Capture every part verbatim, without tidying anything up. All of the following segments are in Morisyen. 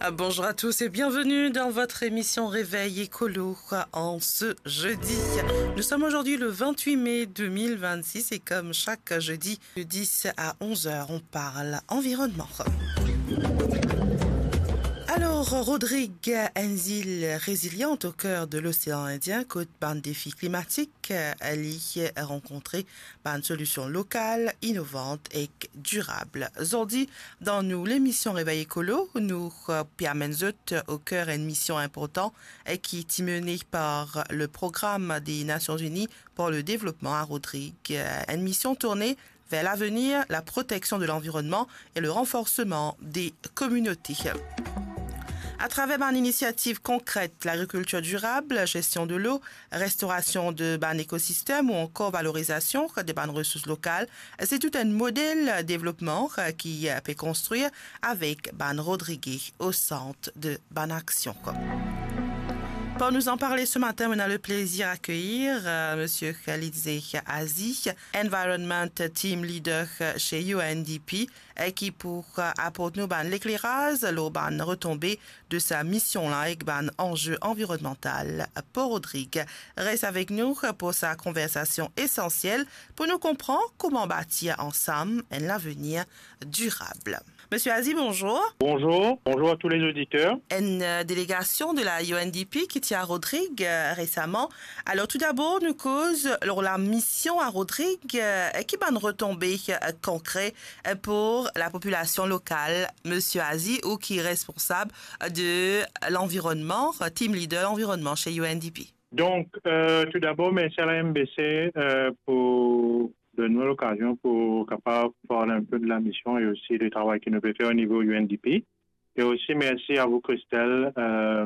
Ah, bonjour à tous et bienvenue dans votre émission Réveil Écolo en ce jeudi. Nous sommes aujourd'hui le vingt-huit mai deux mille vingt-six et comme chaque jeudi de dix à onze heures, on parle environnement. Alors, Rodrigue, une île résiliente au cœur de l'océan Indien, kot bann défi klimatik, euh, li rankontre bann solision lokal, inovant ek dirab. Zordi, dan nou lemision Réveil Écolo, nou, euh, pe amenn zot au cœur enn mision inportan, euh, ki ti mene par le Programme des Nations Unies pour le Développement à Rodrigue, euh, enn mision tourne vers l'avenir, la protection de l'environnement et le renforcement des communautés. Atraver bann inisiativ konkret, lagrikiltir dirab, gestion de l'eau, restorasion de bann ekosistem ou ankor valorizasion de bann resours lokal, se tou enn model devlopman ki pe konstrir avek bann Rodrigé au centre de bann aksion. Pour nous en parler ce matin, on a le plaisir d'accueillir, euh, Monsieur Khalidze Azi, Environment Team Leader chez U N D P, e ki pou, euh, aport nou bann lekleraz lor bann retonbe de sa mision la ek bann anze anvironmantal pour Rodrigue. Res avek nou pour sa konversasion esansiel pour nou konpran kouma batir ansam enn lavenir dirab. Monsieur Azi, bonjour. Bonjour, bonjour à tous les auditeurs. Enn, euh, délégasion de la U N D P ki ti a Rodrigue, euh, resaman. Alors, tout d'abord, nou koz lor lamision a Rodrigue, euh, ki bann retonbe, euh, konkre, euh, pour la popilasion lokal, Monsieur Azi, ou ki responsab de l'environnement, team leader l'environnement chez U N D P. Donc, euh, tout d'abord, merci à la M B C, euh, pour donn mwa lokazion pou kapav parl enn pe de lamision e osi de travay ki nou pe fer o nivo U N D P. E osi mersi a vou, Christelle, euh,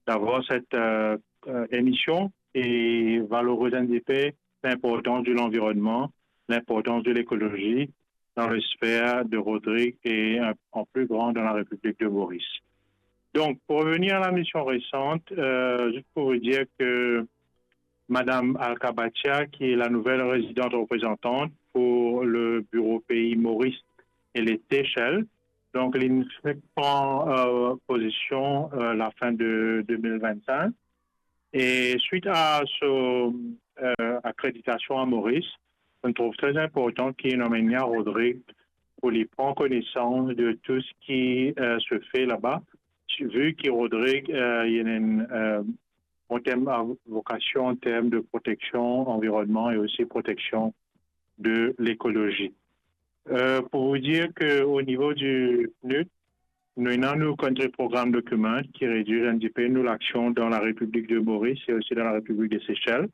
d'avoir cette, euh, euh, émission et valoriser un petit peu l'importance de l'environnement, l'importance de l'écologie dans le sphère de Rodrigue et, euh, en plus grand dans la République de Maurice. Donc, pour revenir à la mission récente, euh, juste pour vous dire que Madame Alka Bhatia, qui est la nouvelle résidente représentante pour le bureau pays Maurice et les Seychelles, donc, li finn pran, euh, pozision, euh, lafin de deux mille vingt-cinq. E swit a so, euh, akreditasion a Moris, nou trouv tre inportan ki nou amenn li a Rodrigue pou li pran konesans de tou seki, euh, se fer laba, vi ki Rodrigue, euh, li ena enn, euh, an term a vokasion, an term de proteksion anvironnman e osi proteksion de lekolozi. Euh, pour vous dire que au niveau du PNUD, nou ena nou Country Programme Document ki redir enn ti pe nou laksion dan la Repiblik de Moris e osi dan la Repiblik de Sesel.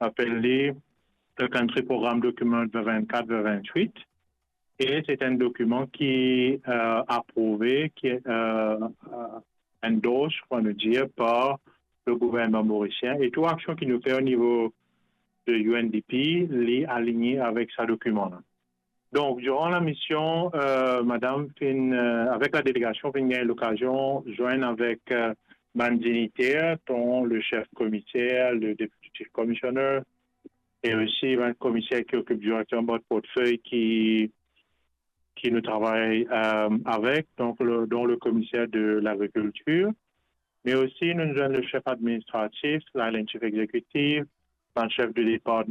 Apel li le Country Programme Document vingt vingt-quatre vingt vingt-huit. E se enn dokiman ki, euh, aprouve, ki, euh, euh, endorse, pou nou dir, par le gouvernman morisien. E tou aksion ki nou fer o nivo de U N D P, li aligne avek sa dokiman la. Donk, diran lamision, euh, madam finn, euh, avek la delegasion, finn gagn lokazion zwenn avek, euh, bann digniter, dont le chef komiser, le deputy chief commissioner, e osi bann komiser ki okip direkteman bann portfey ki, ki nou travay, euh, avek, donk le, dont le komiser de lagrikiltir, me osi nou, nou zwenn le chef administratif, la, le chef exekitif, bann chef de departman,